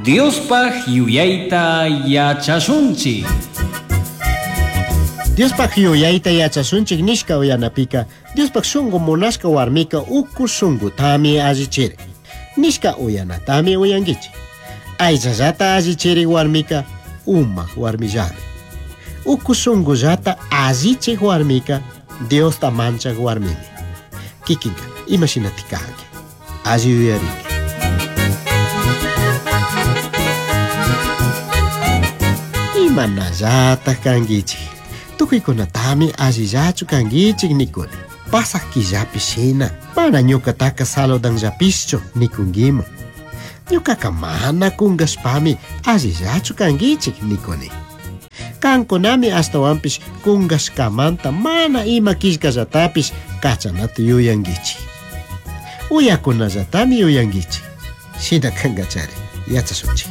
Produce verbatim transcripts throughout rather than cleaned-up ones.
Diospaj yuyayta yachashunchik. Diospaj yuyayta yachashunchik nishka uyanapika Diospaj shungu munashka warmika uku shungutami allichiri. Nishka uyanatami uyankichik. Aychallata allichiri warmika umak warmillami. Uku shungullata allichik warmika Diosta manchak warmimi. Kikinka imashinatik kanki. Alli yuyarinki. Imanallataj kankichik. Tukuykunatami allillachu kankichik nikuni. Pasaj killapi shina mana ñukataka saludanllapishchu nikunkiman. Ñukaka mana kunkashpami allillachu kankichik nikuni. Kankunami ashtawanpish kunkashkamanta mana ima killkallatapish kachanata yuyankichik. Uyakunallatami yuyankichik. Shina kankachari yachashunchik.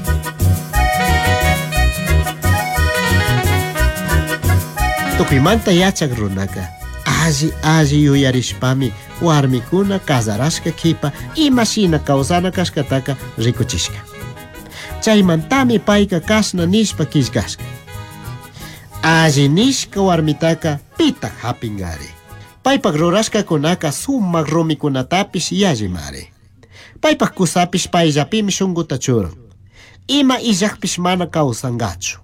Tukuymanta yachak runaka alli alli yuyarishpami warmikuna kazarashka kipa imashina kawsana kashkataka rikuchishka. Chaymantami payka kashna nishpa killkashka. Alli nishka warmitaka pitak hapinkari. Paypak rurashkakunaka sumak rumikunatapish yallimari. Paypak kusapish payllapimi shunkuta churan. Ima illakpish mana kawsankachu.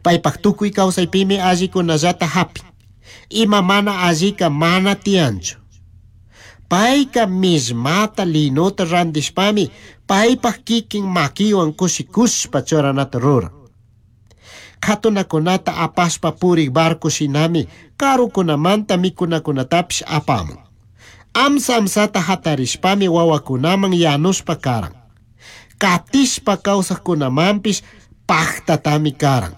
Paypak tukuy kawsaypimi allikunallata hapin. Ima mana allika mana tiyanchu. Payka millmata linota rantishpami paypak kikin makiwan kushikushpa churanata ruran. Katunakunata apashpa purik barco shinami karukunamanta mikunakunatapish apamun. Amsa amsata hatarishpami wawakunaman yanushpa karan. Katishpa kawsaqkunamanpish paqtatami karan.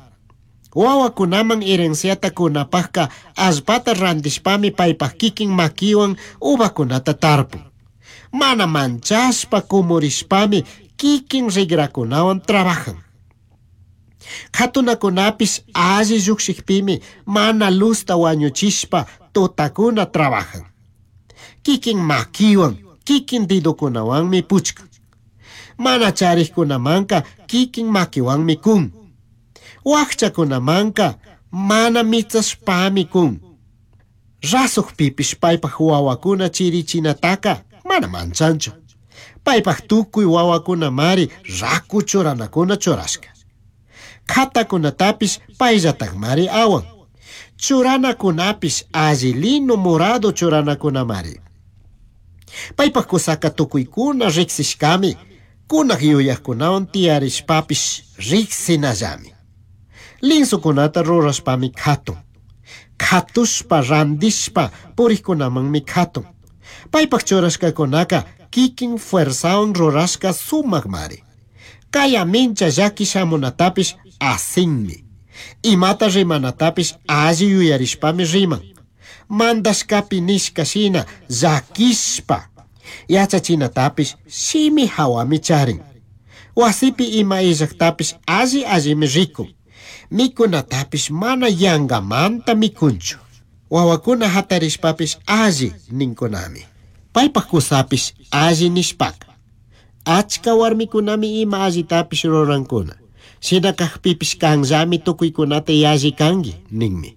Wawakunaman herenciata kunapaqka allpata rantishpami paypak kikin makiwan uvakunata tarpun. Mana manchashpa kumurishpami kikin rigrakunawan trabajan. Katunakunapish alli llukshikpimi mana luzta wañuchishpa tutakuna trabajan. Kikin makiwan, kikin didukunawanmi puchkan. Mana charikkunamanka kikin makiwanmi kun. Wakchakunamanka mana mitsashpami kun. Rasukpipish paypak wawakuna chirichinataka mana manchanchu. Paypak tukuy wawakunamari raku churanakuna churashka. Katakunatapish payllatakmari awan. Churanakunapish alli lino morado churanakunamari. Paypak kusaka tukuykuna riksishkami, kunak yuyakkunawan tiyarishpapish riksinallami. Linsukunata rurashpami katun. Katushpa rantishpa purikkunamanmi katun. Paypak churashkakunaka kikin fuerzawan rurashka sumakmari. Kaya mincha llaki shamunatapish asinmi. Imata rimanatapish alli yuyarishpami riman. Mandashkapi nishka shina llakishpa yachachinatapish shimi hawami charin. Wasipi ima illaktapish alli allimi rikun. Mikunatapish mana yangamanta mikunchu. Wawakuna hatarishpapish alli ninkunami. Paypak kusapish alli nishpaka. Achka warmikunami ima allitapish rurankuna. Shina kakpipish kanllami tukuykunata yalli kanki ninmi.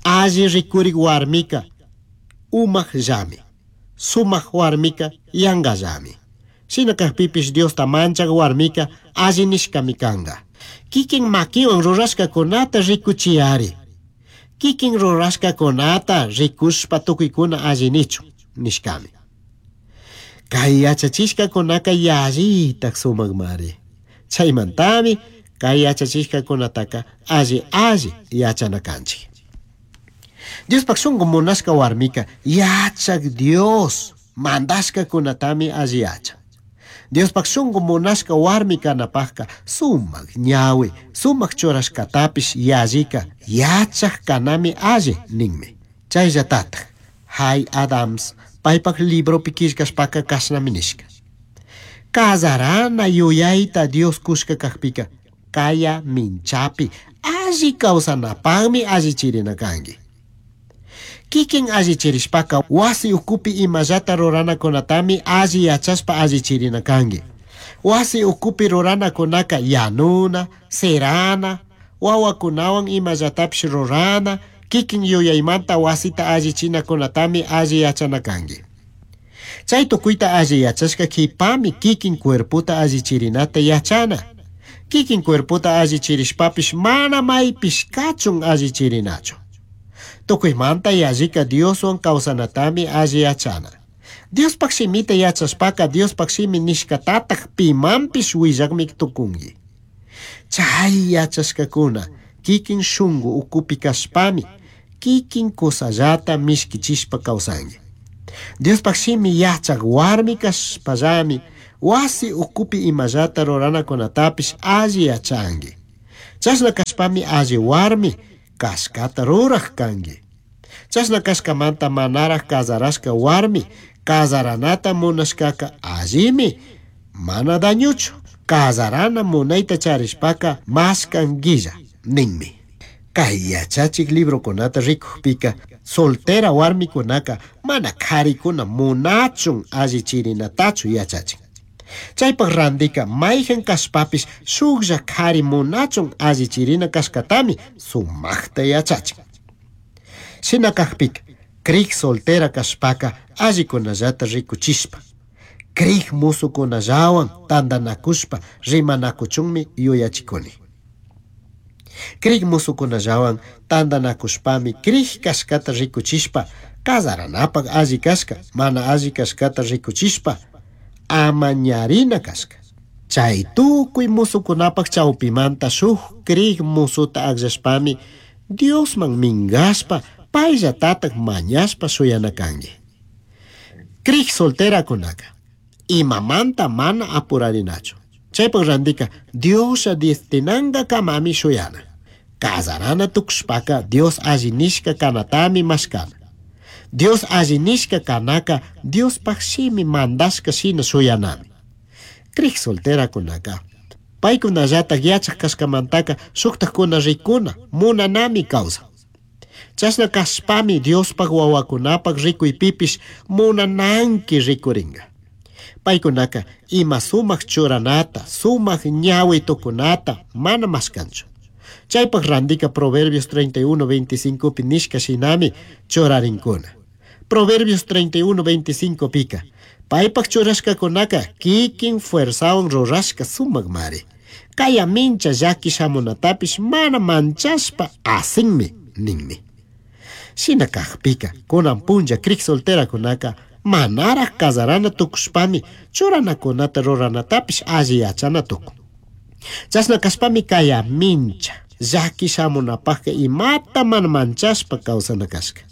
Alli rikurik warmika umakllami. Sumak warmika yankallami. Shina kakpipish Diosta manchak warmika alli nishkami kanka. Kikin makiwan rurashkakunata rikuchiyari. Kikin rurashkakunata rikushpa tukuykuna alli nichun nishkami. Kay yachachishkakunaka yallitak sumakmari. Chaymantami kay yachachishkakunataka alli alli yachana kanchik. Diospaj shunku munashka warmika yachak Dios mandashkakunatami alli yachan. Diospaj shunku munashka warmi kanapajka sumak ñawi, sumak churashkatapish yallika yachak kanami alli ninmi. Chayllatataj Hay Adams paypak libropi killkashpaka kashnami nishka. Kazarana yuyayta Dios kushka kakpika kaya minchapi alli kawsanapaqmi allichirina kanki. Kikin allichirishpaka wasi ukupi imallata ruranakunatami alli yachashpa allichirina kanki. Wasi ukupi ruranakunaka yanuna, sirana, wawakunawan imallatapish rurana, kikin yuyaymanta wasita allichinakunatami alli yachana kanki. Chay tukuyta alli yachashka kipami kikin cuerpota allichirinata yachana. Kikin cuerpota allichirishpapish mana maypish kachun allichirinachu. Tukuymanta yallika Dioswan kawsanatami alli yachana. Diospaj shimita yachashpaka Diospaj shimi nishkatataj pimanpish willakmi tukunki. Chay yachashkakuna kikin shunku ukupi kashpami kikin kusallata mishkichishpa kawsanki. Diospaj shimi yachak warmi kashpallami wasi ukupi imallata ruranakunatapish alli yachanki. Chashna kashpami alli warmi kashkata ruraj kanki. Chashna kashkamanta manaraj kazarashka warmi kazaranata munashkaka allimi mana dañuchu. Kazarana munayta charishpaka mashkankilla ninmi. Kay yachachik librokunata rikukpika soltera warmikunaka mana karikuna munachun allichirinatachu yachachin. Chaypaj randika mayjan kashpapish shuklla kari munachun allichirina kashkatami sumaqta yachachin. Shina kajpika krik soltera kashpaka allikunallata rikuchishpa krik musukunallawan tantanakushpa rimanakuchunmi yuyachikuni. Krik musukunallawan tantanakushpami krik kashkata rikuchishpa kazaranapaj alli kashka mana alli kashkata rikuchishpa amañarina kashka. Chay tukuy musukunapaj chawpimanta shuk krik musuta akllashpami Diosman minkashpa payllatataj mañashpa shuyana kanki. Krik solterakunaka imamanta mana apurarinachu. Chaypaj randika Dioslla destinankakamami shuyana. Kazarana tukushpaka Dios alli nishka kanatami mashkana. Dios alli nishka kanaka Diospaj shimi mandashka shina shuyanami. Krik solterakunaka paykunallataj yachaj kashkamantaka shuktajkuna rikuna munanami kawsan. Chashna kashpami Diospaj wawakunapaj rikuypipish munananki rikurinka. Paykunaka ima sumaq churanata, sumaq ñawi tukunata mana mashkanchu. Chaypaj randika Proverbios treinta y uno veinticinco pi nishka shinami churarinkuna. Proverbios treinta y uno veinticinco pika paypaj churashkakunaka kikin fuerzawan rurashka sumakmari. Kaya mincha llaki shamunatapish mana manchashpa asinmi ninmi. Shina kajpika kunan punlla krik solterakunaka manaraj kazarana tukushpami churanakunata ruranatapish alli yachana tukun. Chashna kashpami kaya mincha llaki shamunapajka imata mana manchashpa kawsana kashka.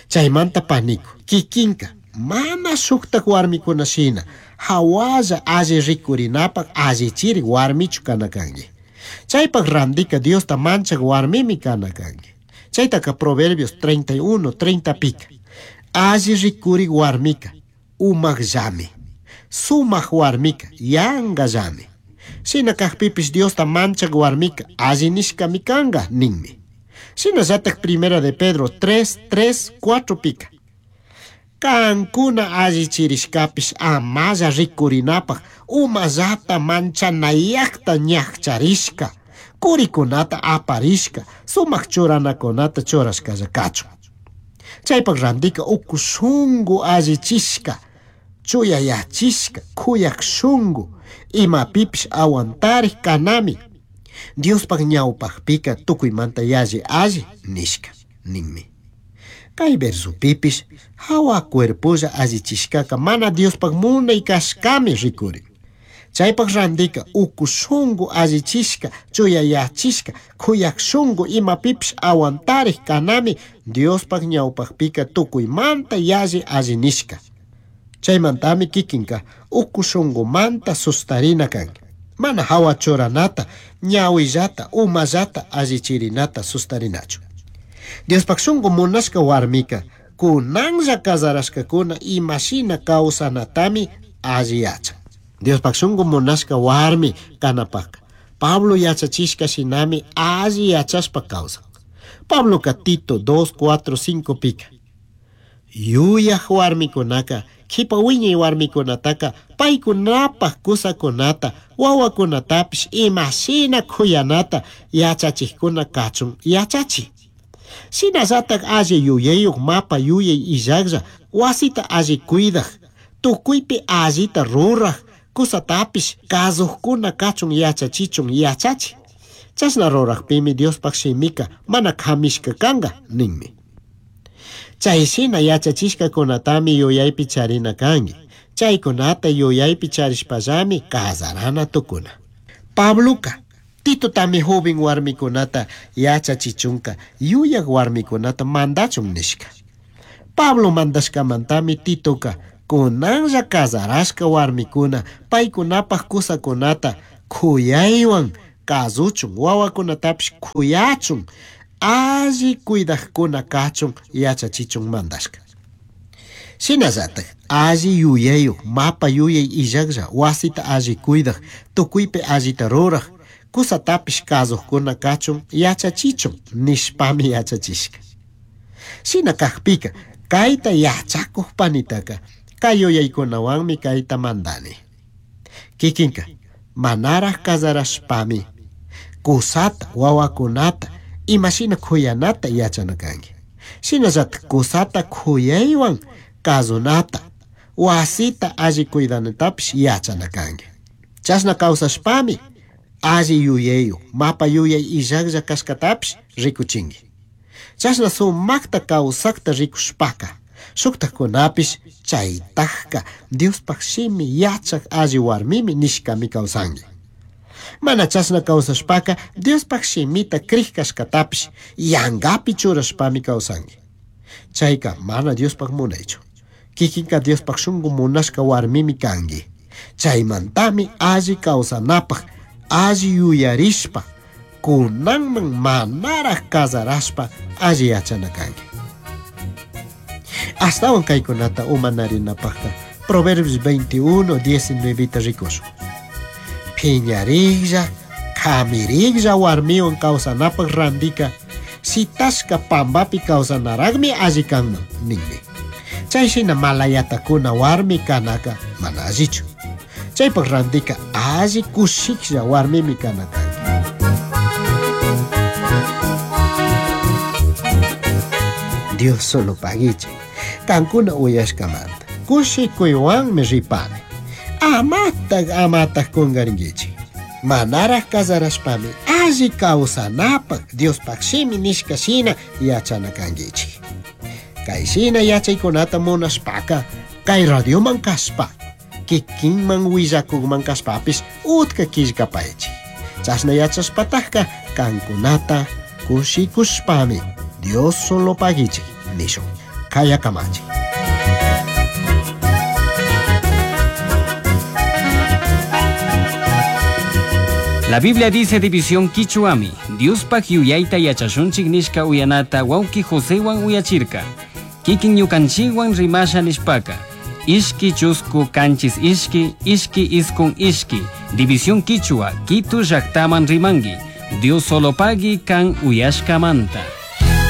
Chaymanta paniku kikinka mana shuktak warmikuna shina hawalla alli rikurinapaj allichiri warmichu kana kanki. Chaypaj randika Diosta manchak warmimi kana kanki. Chaytaka Proverbios treinta y uno treinta pika alli rikuri warmika umakllami, sumak warmika yankallami. Shina kajpipish Diosta manchak warmika alli nishkami kanka ninmi. Shinallataj Primera de Pedro tres tres cuatro pika kankuna allichirishkapish amalla rikurinapaj umallata manchanayakta ñakcharishka, kurikunata aparishka, sumak churanakunata churashkalla kachun. Chaypaj randika uku shunku allichishka, chuyayachishka, kuyak shunku, imapipish aguantarik kanami Diospaj ñawpajpika tukuymanta yalli alli nishka ninmi. Kay versopipish hawa cuerpolla allichishkaka mana Diospaj munay kashkami rikurin. Chaypaj randika uku shunku allichishka, chuyayachishka, kuyak shunku imapipish aguantarik kanami Diospaj ñawpajpika tukuymanta yalli alli nishka. Chaymantami kikinka uku shunkumanta sustarina kanki. Mana hawa churanata, ñawillata, umallata allichirinata sustarinachu. Diospaj shunku munashka warmika kunanlla kazarashkakuna imashina kawsanatami alli yachan. Diospaj shunku munashka warmi kanapajka Pablo yachachishka shinami alli yachashpa kawsan. Pabloka Tito dos cuatro cinco pika Yuyaj warmikunaka kipa wiñay warmikunataka paykunapaj kusakunata wawakunatapish imashina kuyanata yachachikkuna kachun yachachi. Shinallatak alli yuyayuq mapa yuyay illaklla wasita alli cuidaj tukuypi allita ruraj kusatapish kasukkuna kachun yachachichun yachachi. Chashna rurajpimi Diospaj shimika mana kamishka kanka ninmi. Chay shina yachachishkakunatami yuyaypi charina kanki. Chaykunata yuyaypi charishpallami kasarana tukuna. Pabluka Titotami joven warmikunata yachachichunka yuyaj warmikunata mandachun nishka. Pablo mandashkamantami Titoka kunanlla kasarashka warmikuna paykunapaj kusakunata kuyaywan kasuchun wawakunatapish kuyachun alli cuidajkuna kachun yachachichun mandashka. Shinallatak alli yuyayuq mapa yuyay illaklla wasita alli cuidaj tukuypi allita ruraj kusatapish kasukkuna kachun yachachichun nishpami yachachishka. Shina kakpika kayta yachakuj panitaka kay yuyaykunawanmi kayta mandani. Kikinka manaraj kasarashpami kusata wawakunata imashina kuyanata yachana kanki. Shinallatak kusata kuyaywan kasunata wasita alli cuidanatapish yachana kanki. Chashna kawsashpami alli yuyayuq mapa yuyay illaklla kashkatapish rikuchinki. Chashna sumakta kawsakta rikushpaka shuktakunapish chaytajka Diospaj shimi yachak alli warmimi nishkami kawsanki. Mana chashna kawsashpaka Diospaj shimita krij kashkatapish yangapi churashpami kawsanki. Chayka mana Diospaj munaychu. Kikinka Diospaj shunku munashka warmimi kanki. Chaymantami alli kawsanapaj alli yuyarishpa kunanman manaraj kasarashpa alli yachana kanki. Ashtawan kaykunata umanarinapajka Proverbios veintiuno, diecinueve rikushun. Phiñariklla, kamiriklla warmiwan kawsanapaj randika shitashka pambapi kawsanaraqmi alli kanman ninmi. Chay shina malayatakuna warmi kanaka mana allichu. Chaypaj randika alli kushiklla warmimi kana kanki. Dios solo pagichi. Kankuna uyashkamanta kushikuywanmi ripani. Amataj amataj kungarinkichik. Manaraj kasarashpami alli kawsanapaj Diospaj shimi nishka shina yachana kankichik. Kay shina yachaykunata munashpaka kay radioman kashpa kikinman willakukman kashpapish utka killkapaychik. Chashna yachashpatajka kankunata kushikushpami Dios solo pagichik nishun. Kayakamachi. La Biblia dice división Quichuami, Diospaj yuyayta yachashunchik nishka uyanata wawki Josewan uyachirka. Kikin ñukanchikwan rimasha nishpaka. Ishki chusku kanchis ishki, ishki iskun ishki. División Quichua, Quito llaktaman rimangi. Dios solo pagui kan uyashkamanta.